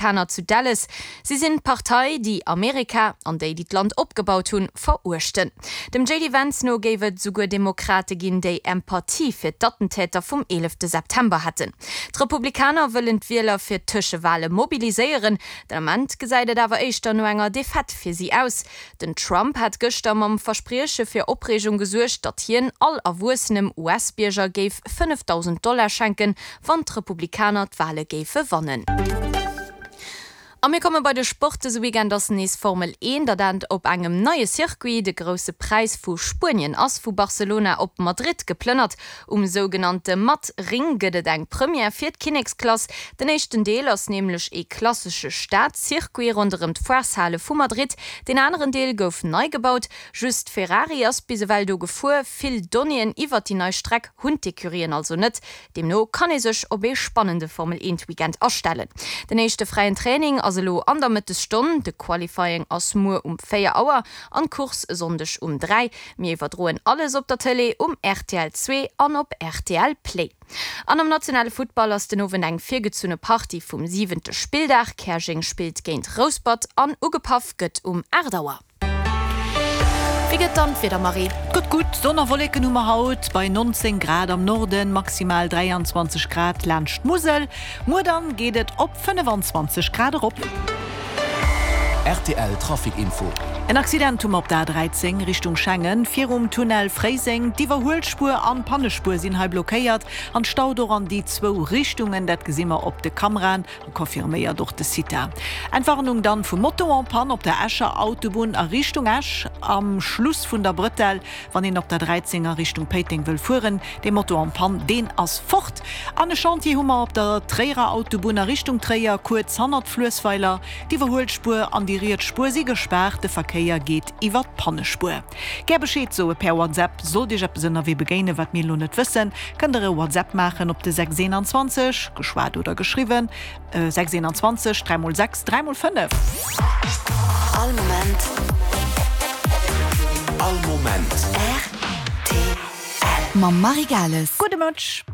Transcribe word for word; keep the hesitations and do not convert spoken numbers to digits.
Republikaner zu Dallas. Si sinn d'Partei, déi Amerika an déi, déi d'Land opgebaut hunn, veruechten. Dem J D Vance no géif et souguer Demokrate ginn, déi Empathie fir d'Attentäter vum eelefte September hätten. D'Republikaner wëllen d'Wieler fir d'Tëschewale mobiliséieren. Den Ament gesäit et awer éischter no enger Defaite fir si aus. Den Trump hat gëschter mam Versprieche fir Opreegung gesuergt, datt hien all erwuessenem U S-Bierger géif fënnefdausend Dollar schenken, wann d'Republikaner d'Wale géife wannen. A mir komme bei de Sport. Dëse Weekend ass nees Formel een, dat dann op engem neie Circuit. De Grousse Präis vu Spuenien ass vu Barcelona op Madrid geplënnert. Um sougenannte Mad Ring gëtt et eng Première fir d'Kinneksklass. Den éischten Deel ass nämlech e klassesche Stad-Circuit ronderëm d'Foireshale vu Madrid. Den aneren Deel gouf nei gebaut. Just Ferrari ass bis ewell do gefuer. Vill Donnéeën iwwer déi nei Streck hunn d'Ecurien also net. Deemno kann ee sech op ee spannende Formel eent Weekend astellen. Den éischte fräien Training ass elo an der Mëttesstonn, de Qualifying ass muer um véier Auer an d'Course e Sonndeg um dräi. Mir iwwerdroen alles op der Tëlee, um R T L zwee an op R T L Play. An am nationale Futtball ass den Owend eng virgezunne Partie vum siwente Spilldag. Käerjeng spillt géint Rouspert an ugepaff gëtt um aacht Auer. Wéi gëtt dann d'Wieder, Marie? Gëtt gutt, Sonn a Wolleken hu mer haut, bei nonzéng Grad am Norden, maximal dräianzwanzeg Grad laanscht d'Musel. Muer dann geet et op fënnefanzwanzeg Grad erop. R T L Trafic Info. En Accident hu mer op der A dräizéng Richtung Schengen, virum Tunnel Fréiseng. D'Iwwerhuelspuer an d'Pannespuer sinn hei blockéiert an staut och an déi zwou Richtungen. Dat gesi mer op de Kameraen a confirméiert och de CITA. Entwarnung dann vum Moto en panne op der Escher Autobunn a Richtung Esch am Schluss vun der Brëtell, wann een op der dräizéng a Richtung Péiteng wëll fueren. Dee Moto en panne, deen ass fort. An e Chantier hu mer op der Tréierer Autobunn a Richtung Tréier, kuerz hannert Fluessweiler. D'Iwwerhuelspuer an déi riets Spuer si gespaart, de Verkéier geet iwwer d'Pannespuer. Gär Bescheed soe per WhatsApp, sollt Iech eppes ënnerwee begéinen, wat mir elo net wëssen, kënnt der e WhatsApp maachen op de sechs eenanzwanzeg, geschwat oder geschriwwen, sechs eenanzwanzeg, dräi mol sechs, dräi mol fënnef. All Moment. All Moment. R T L. Mam Marie Gales. Gudde Mëtteg.